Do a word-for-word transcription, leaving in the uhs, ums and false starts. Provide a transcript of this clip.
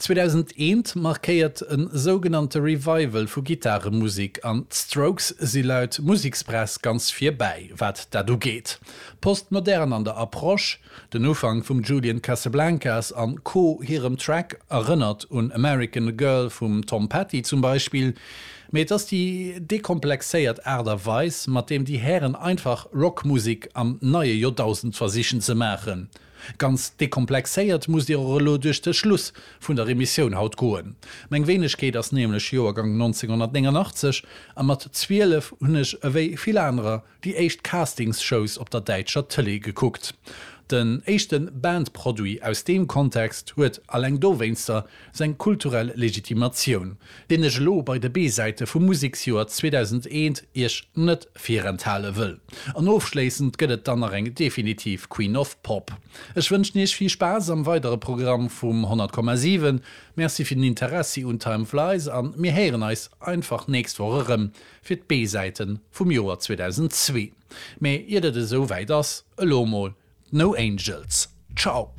zweedausendeent markéiert e sougenannte Revival vu Gittaremusek an d'Strokes si laut Musekspress ganz vir bäi, wat dat ugeet. Postmodern an der Approche, den Ufank vum Julian Casablancas an Co. Hirem Track erënnert un American Girl vum Tom Petty zum Beispill, mee et ass déi dekomplexéiert Aart a Weis, mat deem déi Hären einfach Rockmusek am neie Joerdausend versichen ze maachen. Ganz dekomplexéiert musst Dir och elo duerch de Schluss vun der Emissioun haut goen. Meng Wéinegkeet ass nämlech Joergang nonzénghonnertnéngannachtzeg a mat zwielef hunn ech ewéi vill anerer déi éischt Castings-Shows op der däitscher Tëlee gekuckt. Den éischte Band-Produit aus deem Kontext huet alleng dowéinster seng kulturell Legitimatioun, deen ech elo bei de B-Säite vum Museksjoer zweedausendeent Iech net virenthale wëll. An ofschléissend gëtt et dann nach eng definitiv Queen of Pop. Ech wënschen Iech vill Spaass am weidere Programm vum honnert Komma siwen. Merci fir den Interessi un Time Flies an mir héieren eis einfach nächst Woch erëm fir d'B-Säite vum Joer zweedausendzwee. Mee iert et esou wäit ass, elo mol No Angels. Ciao!